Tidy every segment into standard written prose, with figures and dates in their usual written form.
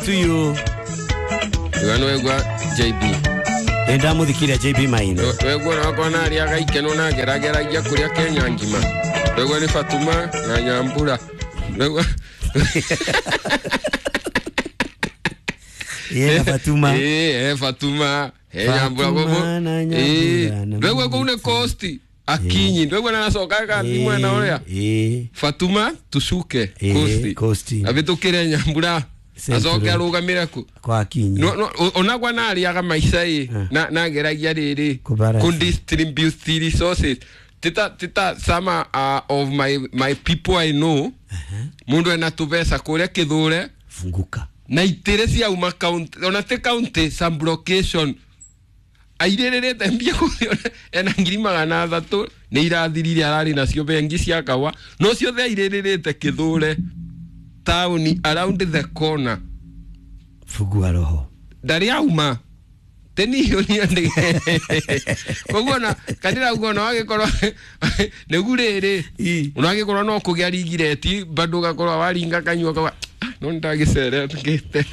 To you. Wegwa JB. Ndamuthikiria JB Maina. Wegwa nakwa nariaga ikeno na ngerageragia kuria Kenya ngima. Wegwa ni Fatuma na Nyambura. Wegwa Yeah, Fatuma. Fatuma. Nyambura gogo. Wegwa kune costi. Akinyi ndwegwa na nacoka gathi mwena uria. Fatuma tucuke costi. Costi. Abitukire Nyambura. Acoke arugamire ku kwa Akinyi. No onagwa nariaga maica i na nageragia riri ku distribute resources tita tita some of my people I know. Mundu ena tubeca kuria kithure funguka na itire ciauma county ona ti county some location airirite mbia kuria ena 300,000 ni irathirire arari nacio bengi cia kawa no ciothe airirite kithure tauni around the corner. Fugua roho ndari auma teniyo ni ande koguo na kadira ugo no agikorwo negu riri ona agikorwo no kugia rigireti bado gakorwo waringa kanyua kawa no ndagicere ngite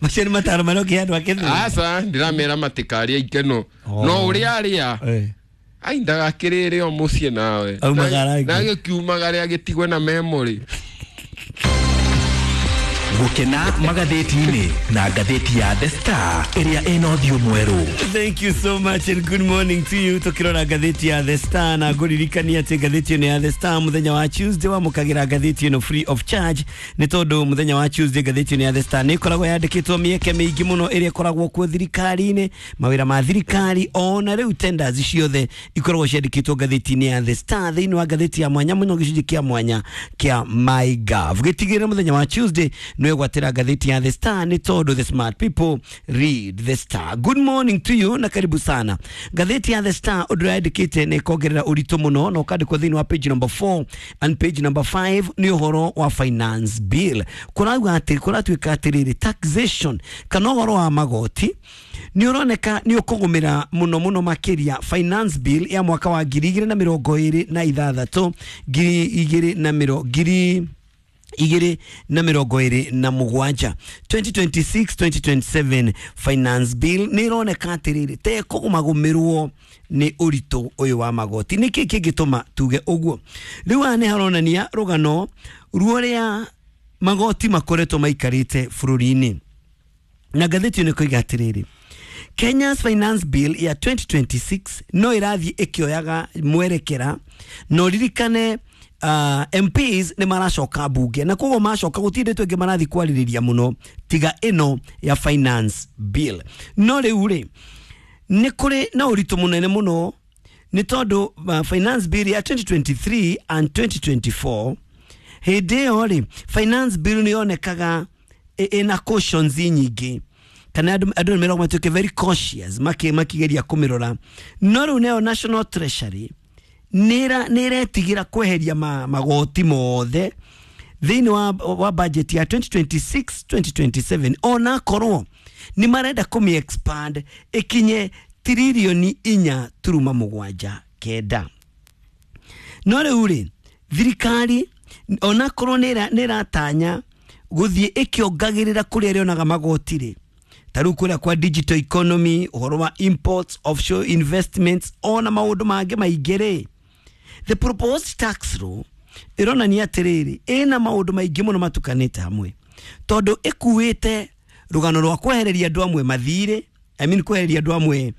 macio ni mataro maroki andu akithu aca ndiramera matikaria ikeno no uria aria ai ndagakirire o muciĩ nawe na gĩkiumagare agĩtigwe na memory. Gukena magatheti-inĩ na ngathĩti ya The Star ĩrĩa ĩna ũthiũ mwerũ. Thank you so much and good morning to you. Tukirora ngathĩti ya The Star na ngũririkania atĩ ngathĩti ĩno ya The Star mũthenya wa Tuesday wamũkagĩra ngathĩti ĩno free of charge nĩ tondũ mũthenya wa Tuesday ngathĩti ĩno ya The Star nĩ ĩkoragwo yandĩkĩtwo mĩeke mĩingĩ mũno ĩrĩa ĩkoragwo kuo thirikari-inĩ, mawĩra ma thirikari ona rĩu tenders ciothe ikoragwo ciandĩkĩtwo ngathĩti-inĩ ya The Star thĩinĩ wa ngathĩti ya mwanya mũno gĩcunjĩ kĩa mwanya kĩa MyGov. Gĩtigĩrĩre mũthenya wa Tuesday nwegwatĩra ngathĩti ya The Star nĩ tondũ the smart people read The Star. Good morning to you na karibu sana. Ngathĩti ya The Star ũndũ yandĩkĩte nĩ ĩkongerera ũritũ mũno na ũkandĩkwo thĩinĩ wa page number 4 and page number 5 nĩ ũhoro wa finance bill. Kũrauga atĩ kũratuĩka atĩrĩrĩ taxation kana ũhoro wa magoti nĩ ũroneka nĩ ũkũgũmĩra mũno mũno makĩria finance bill ya mwaka wa 2026 2027 2026-2027 finance bill nĩ ĩroneka atĩrĩrĩ te kũgũmagũmĩrwo nĩ ũritũ ũyũ wa magoti. Nĩkĩ kĩngĩtũma tuge ũguo? Rĩu haha nĩ haronania rũgano ruorĩa magoti makoretwo maikarĩte bũrũri-inĩ na ngathĩti ĩno ĩkoiga atĩrĩrĩ Kenya's finance bill ya 2026 no ĩrathiĩ ĩkĩoyaga mwerekera no ririkane MPs nĩ maracoka bunge na koguo macoka gũtirĩ ndeto ĩngĩ marathiĩ kwarĩrĩria mũno tiga ĩno ya finance bill. No rĩu rĩ nĩ kũrĩ na ũritũ mũnene mũno nĩ tondũ finance bill ya 2023 and 2024 hĩndĩ ĩyo rĩ finance bill nĩ yonekaga ĩna cautions nyingĩ kana andũ nĩ meragwo matuĩke very cautious makĩgeria kũmĩrora. No rĩu nayo National Treasury nĩretigira kweheria magoti mothe thĩinĩ wa budget ya 2026-2027 ona korwo nĩ marenda kũmĩ expand ĩkinye tiririoni 4.79. No rĩu rĩ thirikari ona korwo nĩratanya gũthiĩ ĩkĩongagĩrĩra kũrĩa ĩrĩonaga magoti rĩ ta rĩu kũrĩa kwa digital economy, ũhoro wa imports, offshore investments ona maũndũ mangĩ maingĩ rĩ the proposed tax law ĩronania atĩrĩrĩ ĩna maũndũ maingĩ mũno matukanĩte hamwe tondũ ĩkuĩte rũgano rwa kwehereria andũ amwe mathirĩ, I mean kwehereria andũ amwe